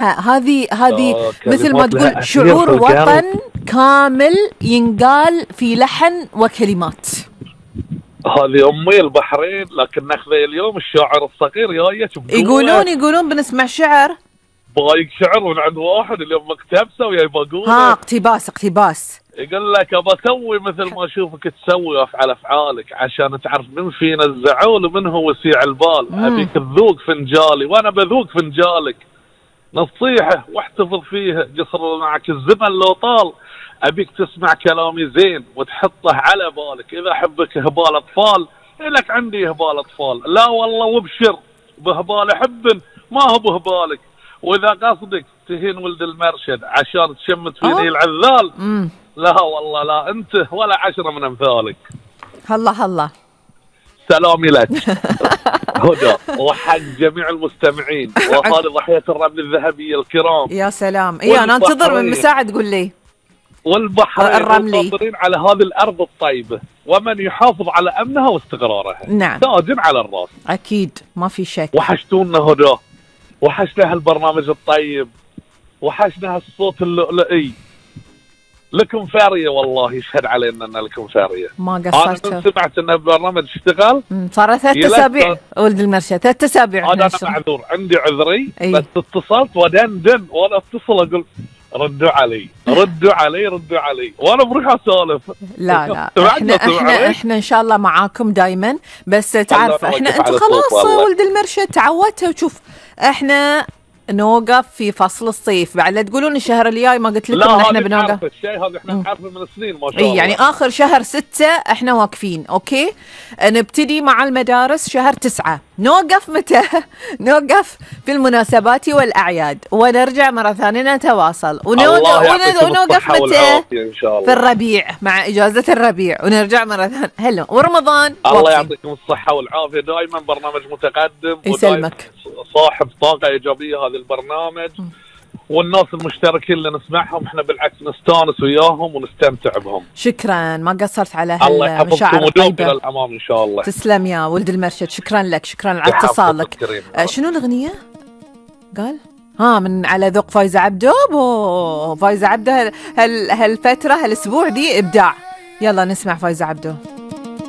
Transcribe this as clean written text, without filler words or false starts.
هذه مثل ما تقول شعور وطن كامل ينقال في لحن وكلمات. هذه أمي البحرين، لكن ناخذ اليوم الشاعر الصغير جايك يقولون بنسمع شعر. بايق شعر من عند واحد اليوم مكتبسه وياي بقول اقتباس يقول لك ابى اسوي مثل ما اشوفك تسوي وافعل افعالك عشان تعرف من فينا الزعول ومن هو وسيع البال. ابيك تذوق فنجالي وانا بذوق فنجالك، نصيحه واحتفظ فيها قصر معك الزمن لو طال. ابيك تسمع كلامي زين وتحطه على بالك، اذا حبك هبال اطفال لك عندي هبال اطفال، لا والله وابشر بهبال حب ما هو بهبالك، واذا قصدك تهين ولد المرشد عشان تشمت فيني العذال لا والله لا انت ولا 10 من امثالك. هلا سلامي لك هدى وحق جميع المستمعين وهذه ضحية الرمل الذهبية الكرام. يا سلام. انا انتظر من مساعد تقول لي. والبحرين الرملي على هذه الارض الطيبة، ومن يحافظ على امنها واستقرارها نعم تاج على الراس اكيد ما في شك. وحشتونا هدى، وحشنا هالبرنامج الطيب، وحشنا هالصوت اللؤلؤي. لكم فارية والله يشهد علينا ان لكم فارية. ما قصرت. انا سمعت ان البرنامج اشتغل صار 3 أسابيع ولد المرشد 3 أسابيع. انا معذور عندي عذري بس اتصلت ودندن وانا اتصل اقول ردوا علي وانا بروح اسولف. لا احنا ان شاء الله معاكم دائما، بس تعرف انتم خلاص ولد المرشد تعودتوا. وشوف احنا نوقف في فصل الصيف بعد، لا تقولون الشهر الجاي ما قلت لكم ان احنا بنوقف. الشيء هذا احنا نعرفه من سنين ما شاء الله. يعني اخر شهر 6 احنا واقفين. اوكي نبتدي مع المدارس شهر 9. نوقف متى؟ نوقف في المناسبات والاعياد ونرجع مره ثانيه نتواصل ونوقف متى؟ في الربيع مع اجازه الربيع ونرجع مره ثانيه. هلا ورمضان. الله يعطيكم الصحه والعافيه، دائما برنامج متقدم يسلمك، صاحب طاقه ايجابيه هذا البرنامج. والناس المشتركين اللي نسمعهم احنا بالعكس نستانس وياهم ونستمتع بهم. شكرا ما قصرت على هالمشاعر الطيبة. الى الامام ان شاء الله. تسلم يا ولد المرشد، شكرا لك، شكرا على اتصالك. شنو الاغنيه قال؟ من على ذوق فايزة عبده. فايزة عبده هالفتره هالاسبوع دي ابداع. يلا نسمع فايزة عبده.